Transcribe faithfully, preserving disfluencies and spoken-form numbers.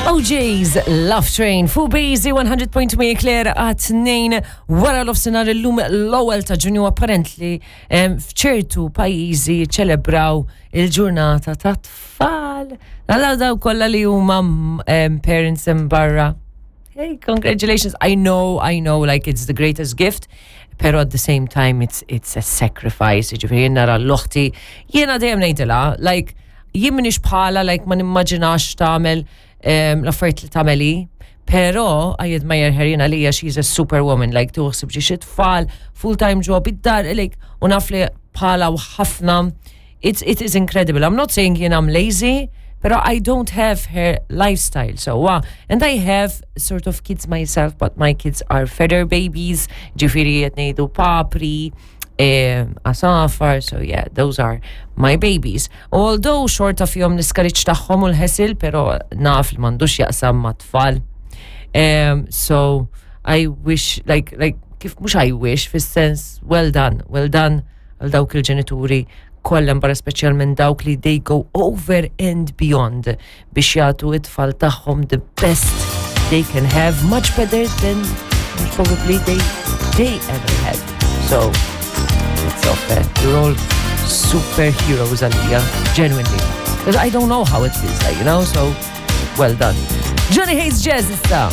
O'Jays Love Train fuq Bazy one hundred point two Claire għat-tnejn wara nofsinhar, illum l-ewwel ta' Ġunju. Apparently em, f'ċertu pajjiżi ċelebraw il-ġurnata ta' tfal. Għalla daw kollha li huma em, parents hemm barra. Hey, congratulations. I know, I know, like, it's the greatest gift, pero at the same time it's it's a sacrifice. Ġifieri nara 'l oħti, jiena dejjem ngħidilha, like, jien m'iniex bħala, like, ma nimmaġinax tagħmel um, l-affarijiet li tagħmeli, pero I admire her. Jiena lija she's a superwoman, like, tuħsib ġi tfal, full-time job, id-dar, like, u naf li bħala u ħafna, it's, it is incredible. I'm not saying jien I'm lazy, pero I don't have her lifestyle. So, uh, and I have sort of kids myself, but my kids are feather babies, ġifieri qed ngħidu papri, eh, għasafar, so yeah, those are my babies. Although xorta fihom l-iskariċ tagħhom u l-ħesil, pero naf li m'għandux jaqsam ma' tfal. Um, so I wish, like, like, kif mhux I wish, fis-sens, well done, well done għal dawk il-ġenituri kollha barra, speċjalment dawk li they go over and beyond biex jagħtu it-tfal tagħhom the best they can have, much better than probably they they ever had. So it's off, eh? You're all superheroes għalija, genuinely. Because I don't know how it feels like, you know, so well done. Johnny Hates Jazz issa.